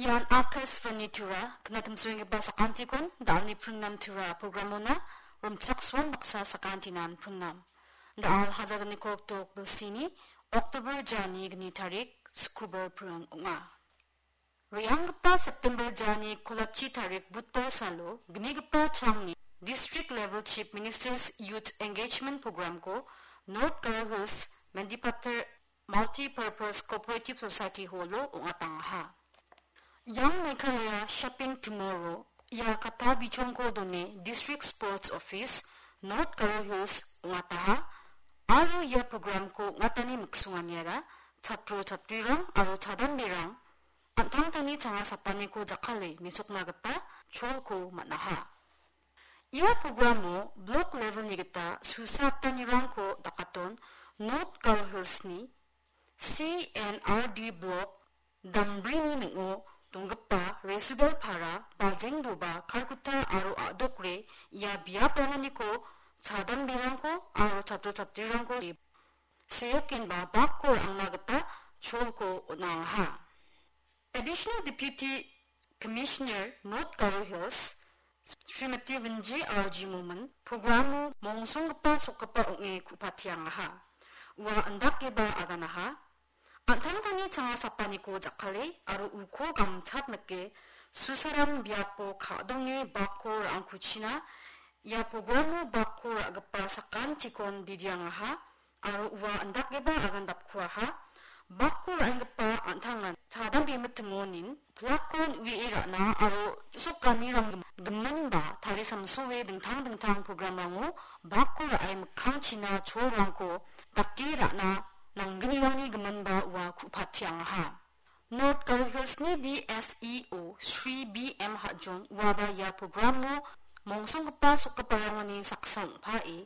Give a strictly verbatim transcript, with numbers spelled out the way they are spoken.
Ian Akashvani Tura, knatimsoenggipa sakantikon, da·alni pringnam Tura programona, Romchaksuan baksa sakantinan pringnam. Da·al hajaganiko oktober sini, Oktober jani gni tarik, Skubar pring ong·a. Re·anggipa September jani kolachi tarik Butpal salo gnigipa changni District Level Chief Minister's Youth Engagement Programko North Garo Hills Mendipathar Multi-Purpose Cooperative Society Hallo ong·atangaha. Young Meghalaya Shaping Tomorrow ia kata bichongko done District Sports Office North Garo Hills ong·ataha aro ia programko ong·atani miksonganiara chatro chatrirang aro chadamberang an·tangtangni changa sapaniko jakkale mesokna gita cholko man·aha. Ia programo blok levelni gita susatanirangko dakaton North Garo Hillsni C N R D blok dambrini ning·o donggipa Resubel Para, Bajengdoba, Kalkutta aro a·dokre ia biapranganiko chadamberangko aro chatro chatrirangko seokenba bakko ra·angna gita cholko on·angaha. Additional Deputy Commissioner North Garo Hills, Srimati Winji R G Momin, programo mongsonggipa sokgipa ong·e ku·patiangaha. Ua indakeba aganaha. An·tangtangni changa sapaniko jakkale aro uko gamchat nike susaram biapo ka·donge bakko ra·angkuchina ia programo bakko ra·gipa sakantikon bidiangaha. Aro ua indakgipa agandapkuaha, bakko ra·enggipa an·tangan chadambemitimonin pilakon u·ie ra·na aro sokanirang giminba tarisamsoe dingtang dingtang programrango bakko ra·e mikkangchina cholrangko dake ra·na nanggnirangni giminba ua ku·patiangaha. North Garo Hillsni D S E O Shri B M Hajong uaba ia programo mongsonggipa sokgiparangoni saksa ong·pae